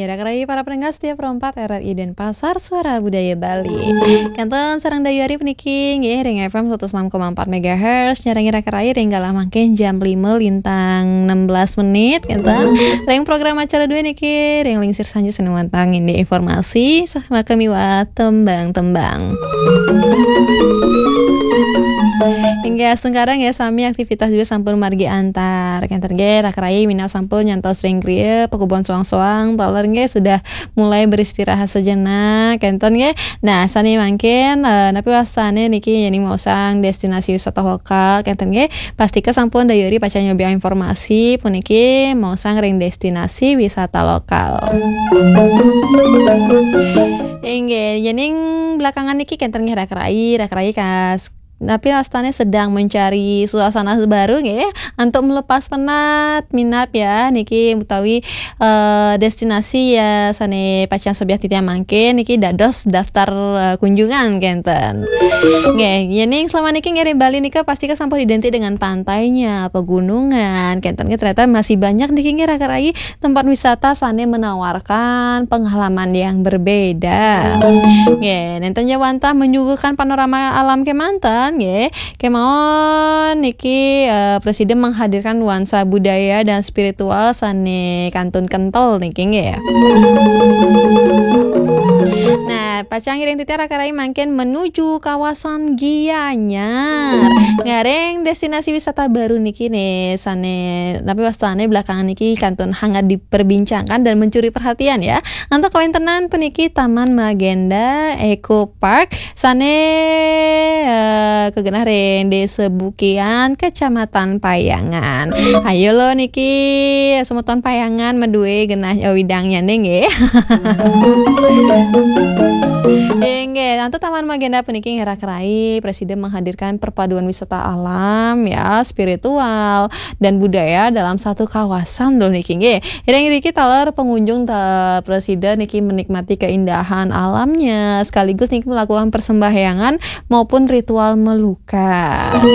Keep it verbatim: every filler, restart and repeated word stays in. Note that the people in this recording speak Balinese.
Raka rai para pendengar setia Pro empat R R I Denpasar, Suara Budaya Bali. Kantun sareng dayuari puniki nggih ring F M seratus enam koma empat megahertz, nyarengi raka rai ring galah mangkin jam lima lintang enam belas menit, kantun. Ring program acara dua niki, ring lingsir sanjaya sané wantah ngindik informasi, saha miwah tembang-tembang. Inggih, astungkara nggih sami aktivitas dua sampun margi antar. Kantun nggih, raka rai minab sampun nyantos ring griya, pakubon soang-soang, taler nggih sudah mulai beristirahat sejenak, kantun nggih. Nah, sané mangkin, eh, napi wastané niki yéning maosang destinasi wisata lokal, kantun nggih. Pastika sampun dayuari pacang nyobiahang informasi puniki maosang ring destinasi wisata lokal. Inggih, yéning belakangan niki kantun nggih raka rai, raka rai kas-, napi wastané sedang mencari suasana baru nggih, antuk melepas penat, minab ya, niki utawi, eh, destinasi ya sané pacang sobiah titiang mangkin niki dados daftar, eh, kunjungan kantun. Nggih, yéning selama niki ngiring Bali nika pastika sampun identik dengan pantainya, pegunungan, kantun nggih ternyata masih banyak niki nggih raka rai tempat wisata sané menawarkan pengalaman yang berbeda. Nggih, nénten ja wantah menyuguhkan panorama alam kémanten nggih. Kémaon niki, eh, Presiden menghadirkan nuansa budaya dan spiritual sané kantun kentel niki nggih. Nah, pacang ngiring titiang raka rai mangkin menuju kawasan Gianyar. Ngiring destinasi wisata baru niki nih, sané napi wastané belakangan niki kantun hangat diperbincangkan dan mencuri perhatian ya. Antuk kawéntenan puniki Taman Magenda Eco Park sané, eh, kagenah ring Désa Bukian, Kecamatan Payangan. Ayo lo niki semeton Payangan madué genah, eh, widangnya nggih. Inggih, antuk Taman Magenda puniki nggih raka rai Presiden menghadirkan perpaduan wisata alam ya, spiritual dan budaya dalam satu kawasan loh niki nggih. Iring iriki taler pengunjung ta-, Presiden niki menikmati keindahan alamnya sekaligus niki melakukan persembahyangan maupun ritual melukat.